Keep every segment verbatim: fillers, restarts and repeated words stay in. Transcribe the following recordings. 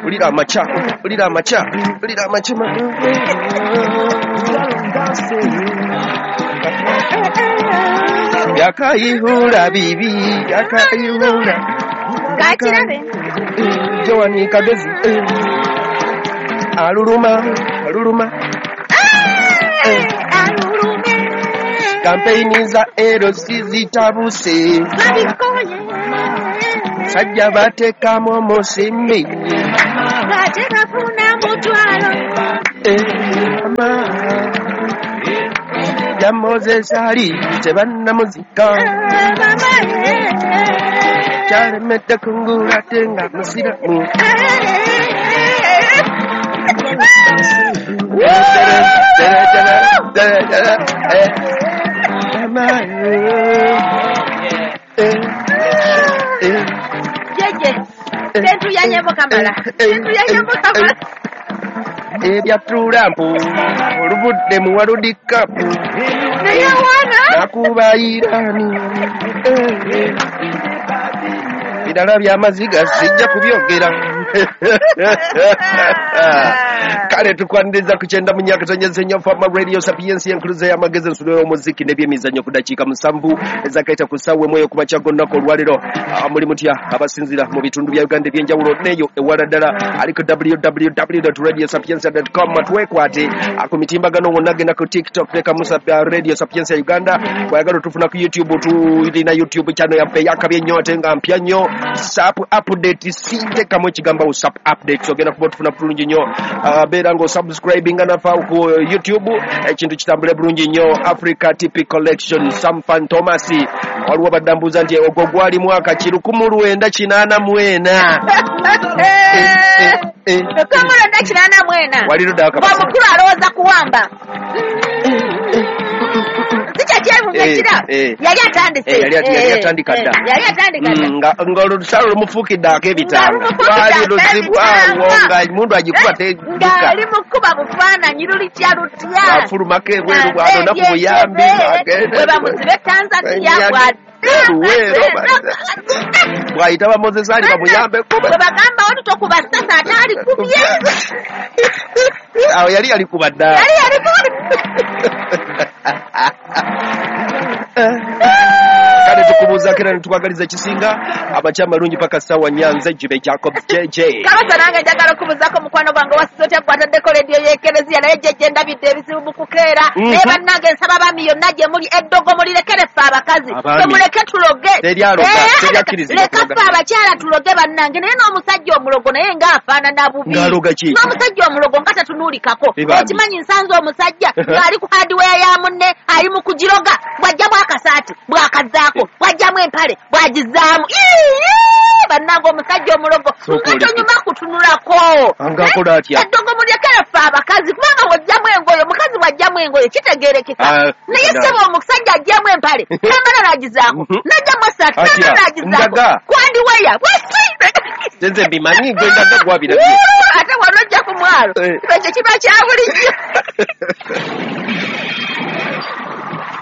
Ulira amaca, ulira amaca, ulira amaca. Yakayihura bibi, yakayihura. Kakirabe. Joani Kagezi. Aluluma, aluluma. Alulume. Kampeyini za L C zitabuse. Babikoye. Sajja bateekamu omusimbi. Ate bafuna mutwalo. Mama. Ya Moses Ali tebannamuzika. Mama. Kyalemedde kungula ate nga musiramu. Jeje, sentuyanyemo kamala, sentuyanyemo kamala. Ebya Trump oluvudde mu World Cup. Naye wana nakuba Irani. Birala by'amaziga sijja kubyogera. Kale tukwaniriza ku kyenda mu myaka tonyeze Fama Radio Sapiensia enkuluze y'amagezi ensulo y'omuziki n'ebyemizannyo ku dakiika musanvu ezakaita ku ssaawa emu ey'okumakya g'olunaku olwaleero. Muli mutya abasinzira mu bitundu bya Uganda eby'enjawulo n'eyo ewala ddala ali ku w w w dot radio sapiensia dot com. Twekwate ku mitimbagano wonna, genda ku TikTok leka Musa Radio Sapiensia Uganda. Bw'oyagala otufuna ku YouTube, tulina YouTube channel yaffe eyakabi ennyo ate nga mpya nnyo, Sap Update. Sintekamu ekigambo Sap Update ogenda kuba otufuna bulungi nnyo. Beera ng'osubscribinga nafa ku YouTube, ekintu kitambule bulungi nnyo. Africa T P Collection Sam Thomas waliwo badambuza nti ogwo gwali mwaka ki lukumu lwenda kinaana mu ena. Lukumu lwenda kinaana mu ena. Waliro ddala kabasa. Omukulu alowooza kuwamba. Sikyo yali atandise. Yali atandika dda. Yali atandika dda. Nga nga olusalo lumufuukidde ak'ebitanga. Lwali luzibu awo nga emundu agikuba tedduka. Ng'ali mu kkuba bufaananyi lulitya lutya. Afulumako ebweru bw'anona ku buyambi. Bwe bamuzibe Tanzania bw'adda. Luweero bw'ayita ba Moses Ali bamuyambeko. Bwe bagamba oli tokuba ssasa ate alikubye. Awo yali yalikuba dda. Yali yalikuba. Kale tukubuuzaako era ne tukwagaliza ekisinga amakya amalungi paka ssaawa nnya. Nze Jibe Jacob J J. Kabasa nange njagala okubuuzaako mukwano gwange wasiza otya gwataddeko rediyo y'Ekereziya, naye J J ndabidde ebizibu mu kukeera. Naye bannange nsaba abaami yonna gye muli eddogo mulirekere ffe abakazi, temuleke tuloge. Leka ffe abakyala tuloge bannange. Naye n'omusajja omulogo naye ng'afaanana bubi. N'omusajja omulogo nga tatunuulikako. Okimanyi nsanze omusajja ng'ali ku hardware ya munne ali mu kugiroga, bw'ajjamu akasaati bw'akazzaako, bw'ajjamu empale bw'agizaamu. Bannange omusajja omulogo nga tonyuma kutunulako. Eddogo mulekere ffe abakazi, kubanga bw'ojjamu engoye, omukazi bw'ajjamu engoye kitegeerekeka. Naye ssebo omusajja ajjamu empale n'amala n'agizaako, n'ajjamu essaati n'amala n'agizaako, kwandiweya bwesi. Nze mbimanyi gwe ndaga gwabirabye. Ate wano ojja ku mwalo ekyo kiba kya bulijjo.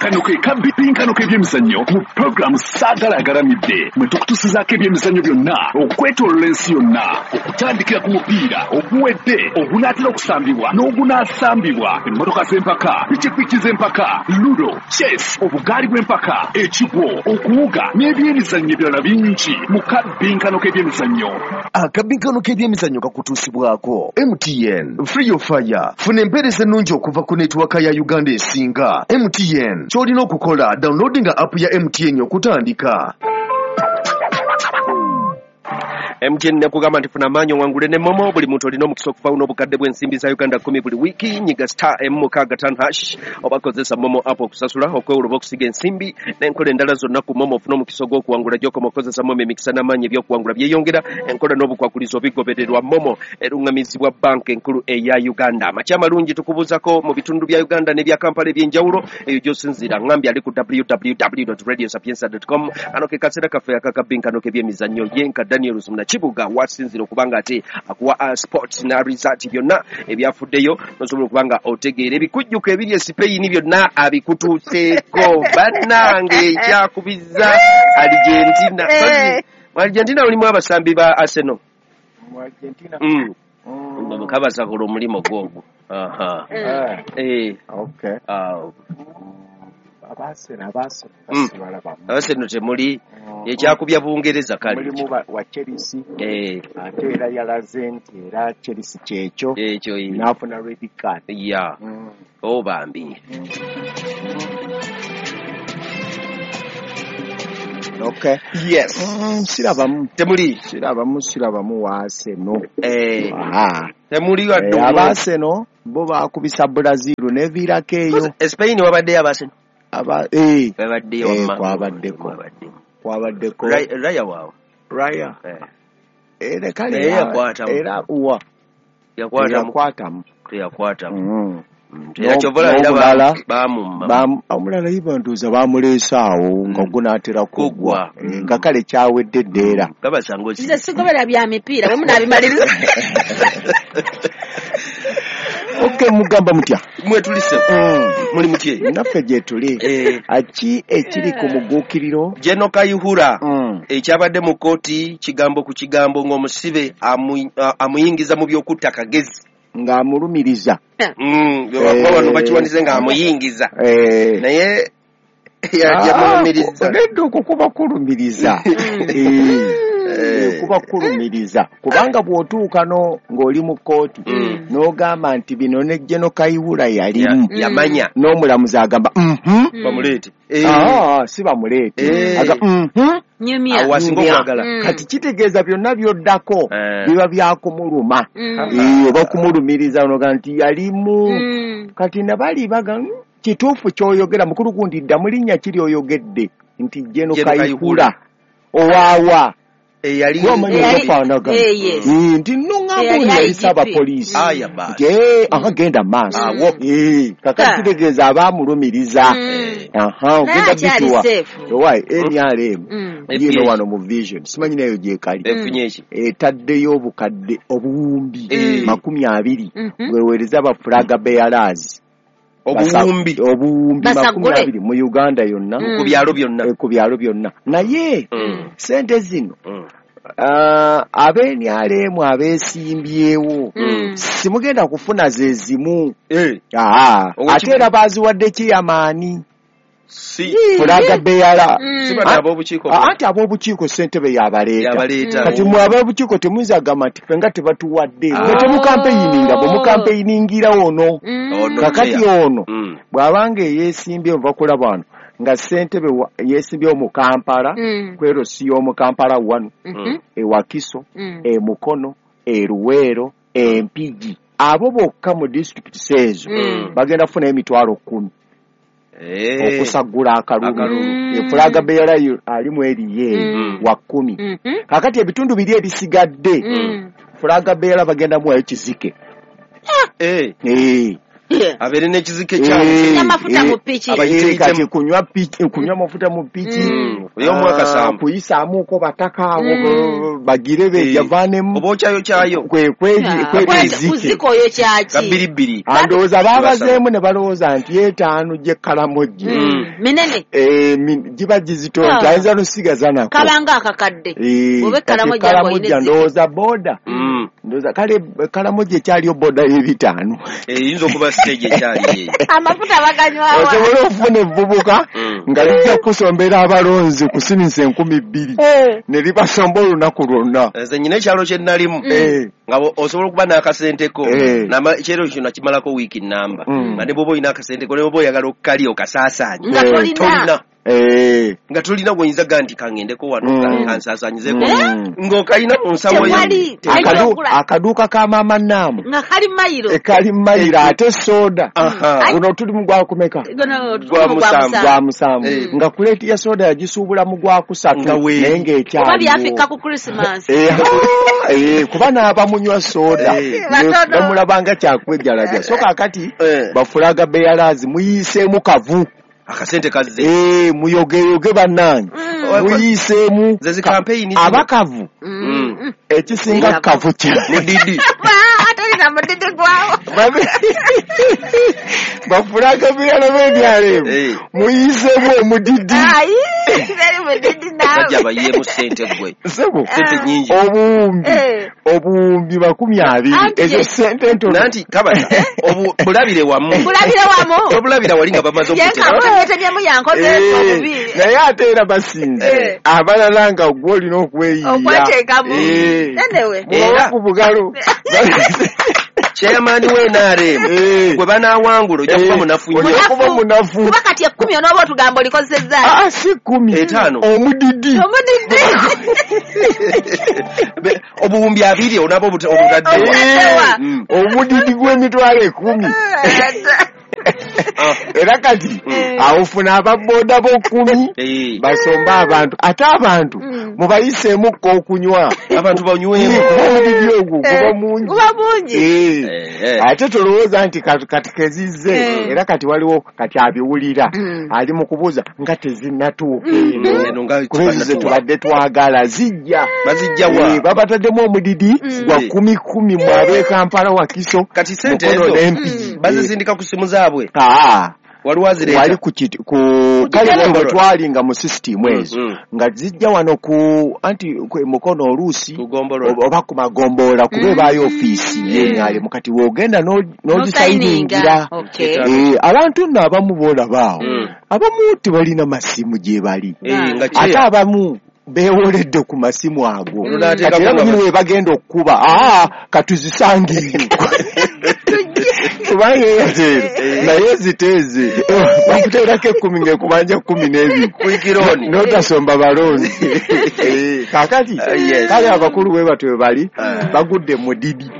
Kano ke kabipinkano k'ebyemizannyo mu pulogulaamu Saagala Agalamidde, mwe tukutusizaako ebyemizannyo byonna okwetoolola ensi yonna, okutandikira ku mupiira oguwedde, ogunaatera okusambibwa n'ogunaasambibwa, emmotoka z'empaka, pikipiki z'empaka, ludo, chess, obugaali bw'empaka, ekigwo, okuwuga n'ebyemizannyo ebirala bingi mu kabinkano k'ebyemizannyo. Akabinkano k'ebyemizannyo kakutuusibwako M T N Free Your Fire. Funa empeereza ennungi okuva ku netiwaka ya Uganda esinga. M T N ky'olina okukola, downloadinga app ya M T N okutandika. M T N nekugamba nti funa amaanyi owangule ne Momo. Buli muntu olina omukisa okufawo n'obukadde bw'ensimbi za Uganda kkumi buli wiiki. Nyiga star emu mukaaga ttaano hash oba kozesa Momo app okusasula, okwewula oba okusiga ensimbi n'enkola endala zonna ku Momo. Ofuna omukisa ogw'okuwangula. Gy'okoma okukozesa Momo, emikisa n'amaanyi eby'okuwangula byeyongera. Enkola n'obukwakulizo bigobererwa. Momo eruŋŋamizibwa banka enkulu eya Uganda. Amakya amalungi tukubuuzako mu bitundu bya Uganda n'ebya Kampala eby'enjawulo eyo gy'osinziira. Ŋŋambye ali ku w w w dot radio sapiensia dot com. Kano ke kaseera kaffe akakabinkano k'ebyemizannyo. Yenka Daniel Rusumna Kibuga wasinzira okubanga ate akuwa sports na result byonna ebyafuddeyo, nosobola okubanga otegeera ebikujjuko ebiri e Spain byonna abikutuuseeko. Bannange ekyakubiza Argentina Mu Argentina mulimu abasambi ba Arsenal. Mu Argentina. Mm. Mm. Kabasakula omulimu gwogwo. Aha. Eh. Eh. Okay. Ah. Abasena abasena basibalaba. Abasena temuli ekyakubya Bungereza kale. Mulimu wa Chelsea. Eh. Ate era yalaze nti era Chelsea kyekyo. Ekyo. N'afuna red card. Yeah. Mm. Oh bambi. Okay. Yes. Mm, sirabamu. Temuli. Sirabamu sirabamu wa Arsenal. Eh. Ah. Temuli wa eh, Arsenal bo bakubisa Brazil neviirako eyo. Spain wabadde Arsenal. Aba eh babadde wamma. Eh, kwabaddeko. Kwabaddeko. Raya waawo. Raya. Eh. Era kale yakwatamu. Era uwa. Yakwatamu. Yakwatamu. Yakwatamu. Mm. Era kyovola era bamumma. Bam omulala ibanduza bamuleesa awo nga gunaatera kugwa. Nga kale kyawedde ddeera. Kabasango si. Nze sigobera bya mipiira bwe munaabimaliriza. Okay, mugamba mutya. Mwe tulise. Mm. Muli mutye. Naffe gye tuli. Eh. Aki ekiri ku muguukiriro. Jeno Kayihura. Mm. Ekyabadde mu kkooti kigambo ku kigambo ng'omusibe amuyingiza mu by'okutta Kagezi. Ng'amulumiriza. Mm, bano bakiwandize ng'amuyingiza. Eh. Naye yamulumiriza. Nedda okwo kuba kulumiriza. Eh. Kuba kulumiriza. Kubanga bw'otuuka no ng'oli mu kkooti n'ogamba nti bino ne Jeno Kayihura yalimu. Yamanya. N'omulamuzi agamba mhm. Bamuleete. Ah, si bamuleete. Aga mhm. Nyumya. Awo asinga okwagala. Kati kitegeeza byonna by'oddako biba byakumuluma. Eh, oba kumulumiriza onoga nti yalimu. Kati nabali baga kituufu ky'oyogera mukulu gundi dda mu linnya kiri oyogedde nti Jeno Kayihura owaawa. Eyali ofaanagana nti nno ŋŋamba ono yali ssabapoliisi nti aha genda maaso kakati kitegeeza abaamulumiriza aha ogenda bituwa owaye N R M yiino wano mu Vision simanyi nayo gyekali etaddeyo obukadde obuwumbi makumi abiri bweweereza ba flag bearers obuwumbi obuwumbi makumi abiri mu Uganda yonna ku byalo byonna ku byalo byonna naye sente zino Uh, ab'N R M abeesimbyewo mm. simugenda kufuna ze zimu eh. Aa, ate era baaziwadde kiyamaani si fulaga beyala mm. si bano ab'obukiiko anti ab'obukiiko ssentebe y'abaleeta mm. kati mwe ab'obukiiko temuyinza gamba nti ffe nga tebatuwadde mwe temukampeyininga bwe mukampeyiningira ono mm. kakati ono mm. bw'abanga eyeesimbye nva kulaba wano nga ssentebe yeesimbyewo mu Kampala mm. kwero si y'omu Kampala wano mm -hmm. e Wakiso mm. e Mukono e Luweero e Mpigi abo bokka mu disitulikiti ezo mm. bagenda kufuna emitwalo kkumi hey. okusaggula akalulu mm. efulaga beyala alimu eriye mm. wa kkumi mm -hmm. kakati ebitundu biri ebisigadde mm. fulaga beyala bagenda muwayo kizike hey. hey. Yeah. Abeere n'ekizike kyabwe amafuta mu piki kati kunywa piki kunywa mafuta mu piki ey'omwaka sambu kuyisaamuko bataka abo bagire bejavaanemu oba okyayo kyayo kwe kuzika oyo kyaki kabiribbiri andowooza baabazeemu ne balowooza nti etaano gy'ekkalamojje minene giba gizitoota ayinza nosigaza nako kabanga akakadde oba ekkalamojja ndowooza boda ndowooza kale ekkalamojja ekyaliyo boda y'ebitaano eyinza okuba stage ekyali amafuta baganywawa osobola okufuna evvubuka nga lijja kusombera abalonzi kusinisa enkumi bbiri ne libasomba olunaku lwonna nze nyina ekyalo kye nnalimu nga osobola okuba n'akasenteko ekyero kyo nakimalako wiiki nnamba nga ne bw'oba olina akasenteko ne bw'oba oyagala okukalya okasaasaanye nga tolina Eh. Nga tolina gwoyinza ga nti kangendeko wano mm. kansaasaanyizeko mm. ng'okalina mu nsawo yo akaduuka ka maama Naamu nga kali mayiro kali mayiro ate soda guno tuli mu gwakumeka gwa musanvu nga kuleeti ya soda yagisuubula mu gwakusatu naye ng'ekyaliwo oba byafikka ku Christmas kuba n'abamunywa soda bamulabanga kyakwejalaja so kaakati bafulaga beyalaazi muyiiseemu kavu akasente kazze eh muyogeyoge bannange mm. muyiseemu nze campaign abakavu mm. ekisinga kavu kya mudidi atolina mudidi gwawo bafulaga biyala b'ebyalo ebyo muyiseemu omudidi Bajja bayiyeemu ssente ggwe. Ssebo ssente nnyingi. Obuwumbi obuwumbi makumi abiri ezo ssente ntono. Nanti kabata bulabire wamu. Bulabire wamu. Obulabira wali nga bamaze okutema. Yetemyemu yankoze obubi. Naye ate era basinze. Abalala nga gwe olina okweyiiya. Okweteekamu. Anyway. Era ku bugalo. Chairman we N R M gwe banaawangula ojja kuba munafu nnyo. Ojja kuba munafu. Kuba kati ekkumi onooba otugamba olikozesezza. Ah, si kkumi. Etaano. Omudidi. Omudidi. Obuwumbi abiri onaaba obutaddewa. Omudidi gw'emitwalo ekkumi. Era kati awufuna ababoda b'okkumi basomba abantu ate abantu mubayiseemukko okunywa abantu banywemu omudidi ogwo guba mungi guba mungi ate tolowooza nti kati kezizze era kati waliwo kati abiwulira ali mu kubuuza nga tezinnatuuka eno kuba ze tubadde twagala zijja bazijja wa babataddemu omudidi gwa kumi kumi mu ab'e Kampala Wakiso kati ssente ezo bazisindika ku simu zaabwe. Ah, waliwo azireeta wali ku ku kale twalinga mu system ezo nga zijja wano ku anti mukono oluusi oba ku magombolola kuba ebaayo ofiisi yenyale mukati w'ogenda n'ogisayiningira. Abantu nno abamu boolaba awo abamu tebalina masimu gye bali ate abamu beewoledde ku masimu ago kati era munyini we bagenda okukuba aa katuzisangeyo kubanga Airtel naye ziteeze bakuteerako ekkumi ng'ekubanja kkumi n'ebiri n'otasomba balonzi. Kaakati kale abakulu bwe batyo bwe bali bagudde mu didi.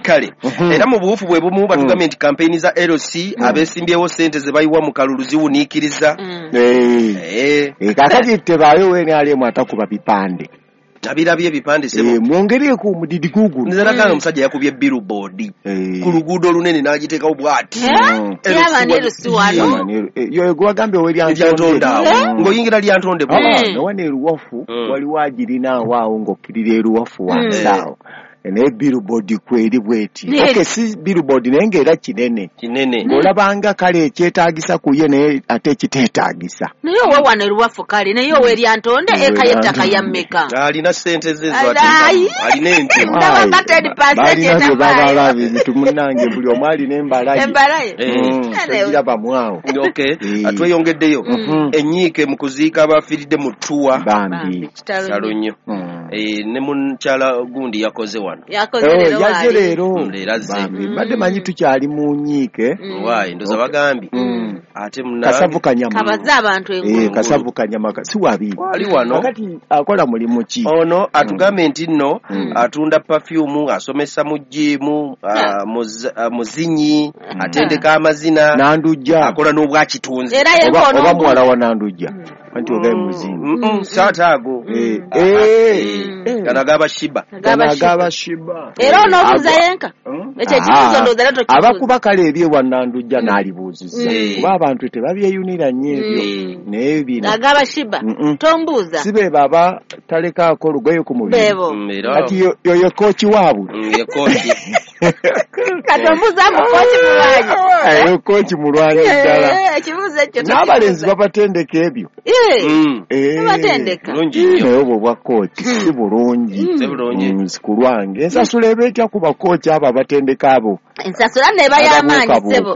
Kale era mu buwufu bwe bumu batugambye nti kampeyini za L C abeesimbyewo ssente ze bayiwa mu kalulu ziwuniikiriza. Kaakati tebaayo we N R M atakuba bipande. Nabirabye ebipande sebo. Mwongereko omudidi guguno. Nze nakanga omusajja yakubye billboard ku luguudo olunene n'agiteekawo bw'ati. Yo gwagambye owe Lyantonde awo. Ng'oyingira Lyantonde bw'ati. Wano eruwafu waliwo agirina awo awo ng'okkirira eruwafu wansi awo. Naye billboard kweri bweti. Okay, si billboard naye ng'era kinene. Kinene. Ng'olabanga kale ekyetaagisa ku ye naye ate ekiteetaagisa. Naye owe wano eruwafu kale naye owe Lyantonde eka y'ettaka ya mmeka? Alina ssente ze z'ateekamu. Alina ente. Ndaba nga ten percent Balina bye babala ebintu munnange buli omu alina embala ye. Embala ye. Togirabamu awo. Okay. Tweyongeddeyo. Ennyiike mu kuziika abafiiridde mu ttuwa. Bambi. Kitalo nnyo. Ne mukyala gundi yakoze wano. Yakoze leero yaze leero. Leero Mbadde manyi tukyali mu nnyiike. Waayi ndoza bagambye. Ate munange. Kasavu kanyama. Kabaze abantu engulu. Kasavu kanyama si wabi. Wali wano. Kakati akola mulimu ki? Ono atugambye nti nno atunda perfume, asomesa mu gym, muzinyi, atendeka amazina. Nandujja. Akola n'obwakitunzi. Era yenkono. Oba muwala wa Nandujja. Anti ogaye muzinyi. Saata ago. Gano agaba Shiba. Gano agaba Shiba. Era onoobuuza yenka. Ekyo ekibuuzo ndowooza era tokibuuza. Abakuba kale ebyewa Nandujja n'alibuuzizza. Kuba abantu tebabyeyunira nnyo ebyo. Naye bino. Agaba Shiba. Tombuuza. Si be baba talekaako olugoye ku mubiri. Beebo. Kati yoyo kooki waabwe. Ye kooki. Kati ombuuza mbu kooki mulwanyi. Eyo kooki mulwanyi ddala. Ekibuuzo ekyo tokibuuza. N'abalenzi babatendeka ebyo. Babatendeka. Naye obwo obwa kooki si bulungi. Si bulungi. Si ku lwange. Ensasula eba etya ku bakooki abo abatendeka abo? Ensasula neeba y'amaanyi ssebo.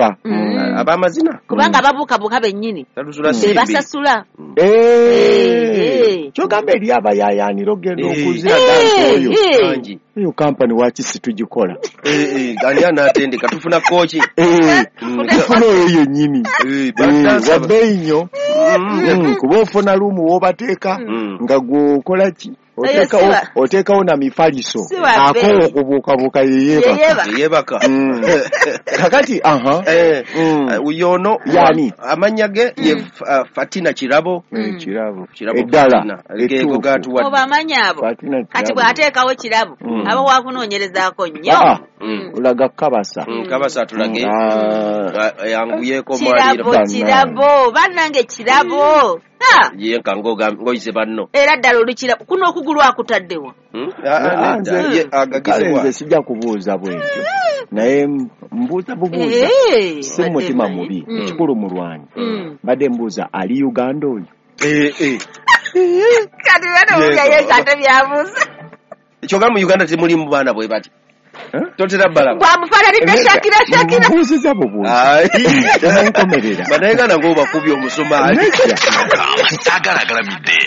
Ab'amazina. Kubanga ababuukabuuka bennyini. Bebasasula. Kyogamba eri abayaayaanira ogenda okuzira dansi oyo. Eyo kampani waaki si tugikola. Ani anaatendeka tufuna kooki. Tufuna oyo yennyini. Wabbeeyi nnyo. Kuba ofuna luumu w'obateeka nga gw'okola ki? Oteekawo na mifaliso akoowa okubuukabuuka yeyeebaka. Yeyeebaka. Kakati aha. Yono yani amannya ge ye Fatina Kirabo. Kirabo. Eddala. Geego gatuwadde. Oba amannya abo. Kati bw'ateekawo Kirabo aba waakunoonyerezaako nnyo. Olaga Kabasa. Kabasa atulage. Yanguyeeko mwaliro. Kirabo Kirabo bannange Kirabo. Ye nka ng'oyize banno. Era ddala oli Kirabo kuno okugulu akutaddewa. Kale nze sijja kubuuza bwentyo. Naye mbuuza bubuuza. Si mutima mubi. Ekikulu mulwanyi. Mbadde mbuuza ali Uganda oyo. Eh, eh. Kati bana owulira ye ate byabuuza. Kyokka mu Uganda temulimu baana bwe bati. Totera balaba. Bwamufaananidde Shakira Shakira. Mbuuziza bubuuzi. Temunkomerera. Bannayuganda ng'obakubye omusumaali. Saagala agalamidde.